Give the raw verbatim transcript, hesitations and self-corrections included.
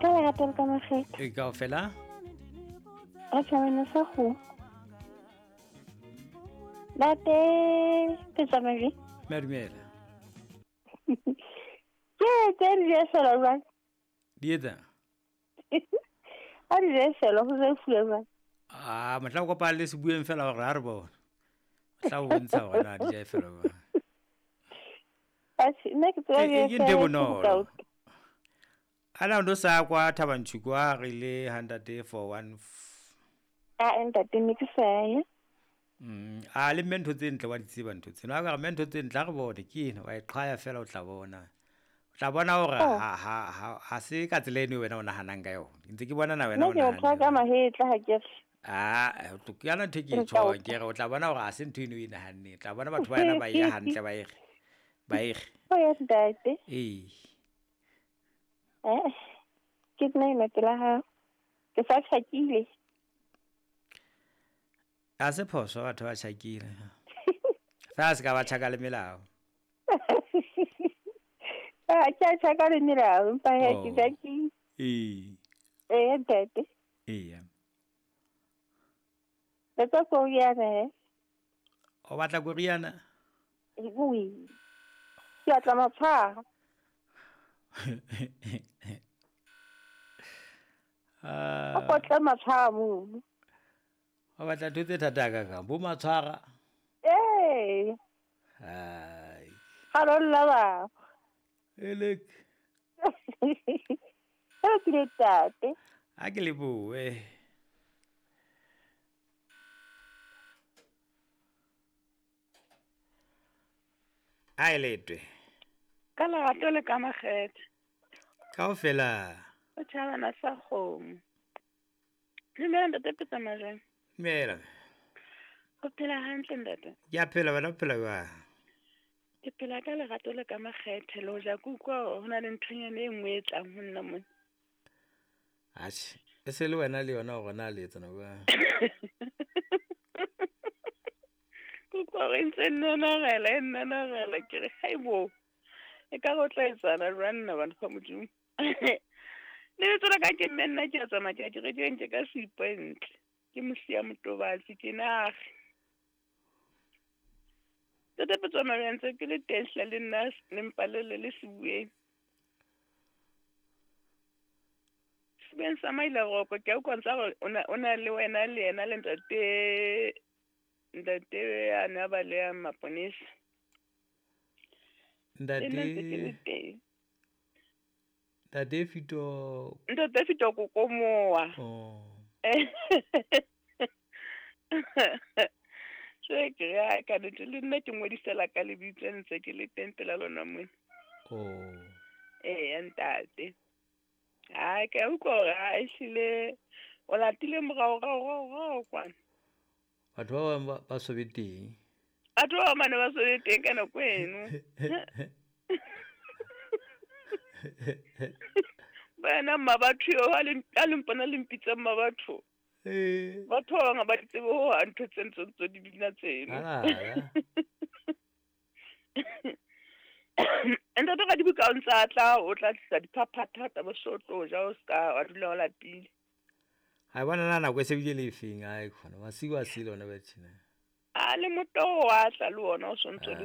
Ka lerato le ka makgetho. E kaofela? Re tjhabana sa kgomo. Ntate Petsamajwe. Madumela. Ke tse di efela jwang? Di etsa? A di efela ho se fuwe jwang? Ah, motla o kopana le sebueng fela hore ha re bone. Tla o bontsha hore na di ja efela jwang. Atjhe, nna ke tseba di efela. Ke ntho e bonolo. Ana o no sa kwa Thabanchu kwa re le hundred four one. A ntate ne ke sa ya. Mm, a le mme ntho tse ntle wa di tseba ntho tsena. A ka re mme ntho tse ntle ha re bone ke ena wa e qhaya fela o tla bona. O tla bona hore ha ha ha ha se ka tsela eno wena o nahanang ka yona. Ntse ke bona na wena o nahana. Nna ke o ka mahetla ha ke re. Ah, ke yana ntho ke e tjhong ke re o tla bona hore ha se ntho eno o e nahanneng. O tla bona batho ba yena ba e ya hantle ba e re. Ba e re. O ya ntate. Ee. Eh. Ke nna ena pela hao. Ke sa tjhakile. A se phoso batho ba tjhakile. Fa se ka ba tjhaka le melao. Ah, ke a tjhaka le melao, empa he ke tjhakile. Ee. Eh, ntate. Ee. Batla koriana he. O batla koriana? Ee. Ke batla matshwara. Ah. O batla matshwara mono. O batla ntho tse thata ka ka bo matshwara. Ee. Hai. Ha lo lla ba. Elek. E ke le tate. A ke le bue. A e letwe. Ka lerato le ka makgethe. Kaofela. O tjhabana sa kgomo. Dumela ntate Petsamajwe. Dumela. O phela hantle ntate? Ke a phela, wena o phela jwang? Ke phela ka lerato le ka makgethe le hoja ke utlwa ho na le nthonyana e nngwe e tlang ho nna mona. Atjhe, e se le wena le yona hore na le etsana jwang? Ke utlwa hore e ntse e nnanarela, e nnanarela ke re haibo. E ka re o tla etsana jwang nna batho ba Modimo. Lebitso la ka ke mme nna ke a tsamaya ke ya kerekeng ke ka seipone ntle. Ke Mosia Motobatsi ke nage. Ntate Petsamajwe ntse ke le teng hle le nna le mpalele le sebueng. Sebueng sa Mailaroko ke a utlwa ntsa hore o na o na le wena le yena le ntate ntate a ne a baleha maponesa. Le nna ntse ke le Ntate teng. Ntate Fito. Ntate Fito Kokomoa. Oh. Se ke re ha ka nnete le nna ke ngodisela ka lebitso ntse ke le teng pela lona mona. Oh. Eya ntate. Ha ke a utlwa hore ha ehlile o latile morao rao rao rao kwana. Batho ba bang ba so be teng. Batho ba bang ba ne ba so be teng ka nako eno. Bana mma batho eo ha le ha le mpona le mpitsa mma batho. Eh. Batho ba bang ha ba di tsebe ho hang ntho tse ntse ntse di bina tseno. Ala. Ntate ka dibuka o ntsa tla o tla tlisa diphaphatha ba so tlo ja o ska wa dula o lapile. Ha bona na nako e se bile le efeng ai khona masiu a sile ona ba tjena. A le motoho wa tla le ona o sontso le